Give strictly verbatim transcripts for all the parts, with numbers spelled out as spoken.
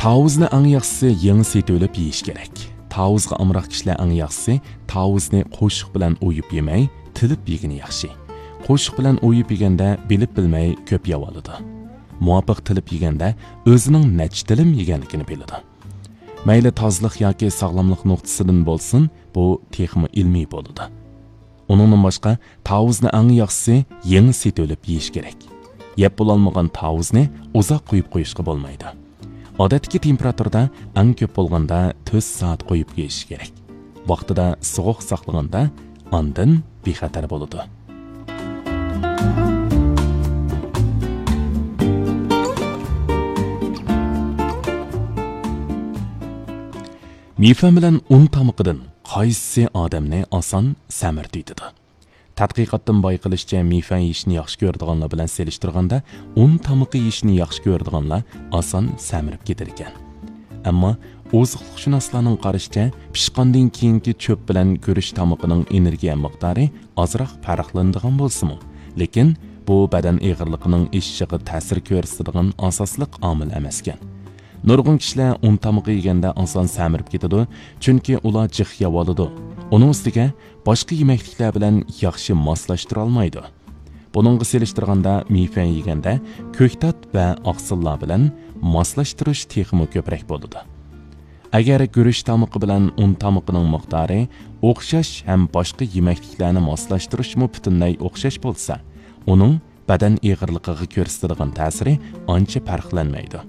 تاۋۇزنى ئەڭ ياخشىسى يېڭى سېتىۋېلىپ يېيىش كېرەك. تاۋۇزغا ئامراق كىشىلەر ئەڭ ياخشىسى تاۋۇزنى قوشۇق بىلەن ئويۇپ يېمەي، تىلىپ يېگىنى ياخشى. قوشۇق بىلەن ئويۇپ يېگەندە بىلىپ بىلمەي كۆپ يەۋالىدۇ. مۇۋاپىق تىلىپ يېگەندە ئۆزىنىڭ نەچچە تىلىم يېگەنلىكىنى بىلىدۇ. مەيلى تازىلىق ياكى ساغلاملىق نۇقتىسىدىن بولسۇن، بۇ تېخىمۇ ئىلمىي بولىدۇ. ئۇنىڭدىن باشقا، تاۋۇزنى ئەڭ ياخشىسى يېڭى سېتىۋېلىپ يېيىش كېرەك. يەپ بولالمىغان تاۋۇزنى ئۇزاق قويۇپ قويۇشقا بولمايدۇ. ئادەتتىكى تېمپېراتۇرىدا ئەڭ كۆپ بولغاندا تۆت سائەت قويۇپ يېيىش كېرەك. ۋاقتىدا سوغۇق ساقلىغاندا ئاندىن بىخەتەر بولىدۇ. مىفەن بىلەن ئۇن تامىقىدىن قايسىسى ئادەمنى ئاسان سەمرىتىۋېتىدۇ؟ تەتقىقاتتىن بايقىلىشىچە، مىفەن يېيىشنى ياخشى كۆرىدىغانلار بىلەن سېلىشتۇرغاندا، ئۇن تامىقى يېيىشنى ياخشى كۆرىدىغانلار ئاسان سەمرىپ كېتىدىكەن. ئەمما ئوزۇقلۇقشۇناسلارنىڭ قارىشىچە، پىشقاندىن كېيىنكى چۆپ بىلەن گۈرۈچ تامىقىنىڭ ئېنېرگىيە مىقدارى ئازراق پەرقلىنىدىغان بولسىمۇ، لېكىن بۇ بەدەن ئېغىرلىقىنىڭ ئېشىشىغا تەسىر كۆرسىتىدىغان ئاساسلىق ئامىل ئەمەسكەن. نۇرغۇن كىشىلەر ئۇن تامىقى يېگەندە ئاسان سەمرىپ كېتىدۇ، چۈنكى ئلار جىق يەۋالىدۇ. ئۇنىڭ ئۈستىگە باشقا يېمەكلىكلەر بىلەن ياخشى ماسلاشتۇرالمايدۇ. بۇنىڭغا سېلىشتۇرغاندا، مىفەن يېگەندە كۆكتات ۋە ئاقسىللار بىلەن ماسلاشتۇرۇش تېخىمۇ كۆپرەك بولىدۇ. ئەگەر گۈرۈچ تامىقى بىلەن ئۇن تامىقىنىڭ مىقدارى ئوخشاش ھەم باشقا يېمەكلىكلەرنى ماسلاشتۇرۇشمۇ پۈتۈنلەي ئوخشاش بولسا، ئۇنىڭ بەدەن ئېغىرلىقىغا كۆرسىتىدىغان تەسىرى ئانچە پەرقلەنمەيدۇ.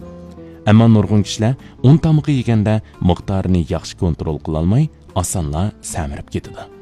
ئەمما نۇرغۇن كىشىلەر ئۇن تامىقى يېگەندە مىقدارىنى ياخشى كونترول قىلالماي، ئاسانلا سەمرىپ كېتىدۇ.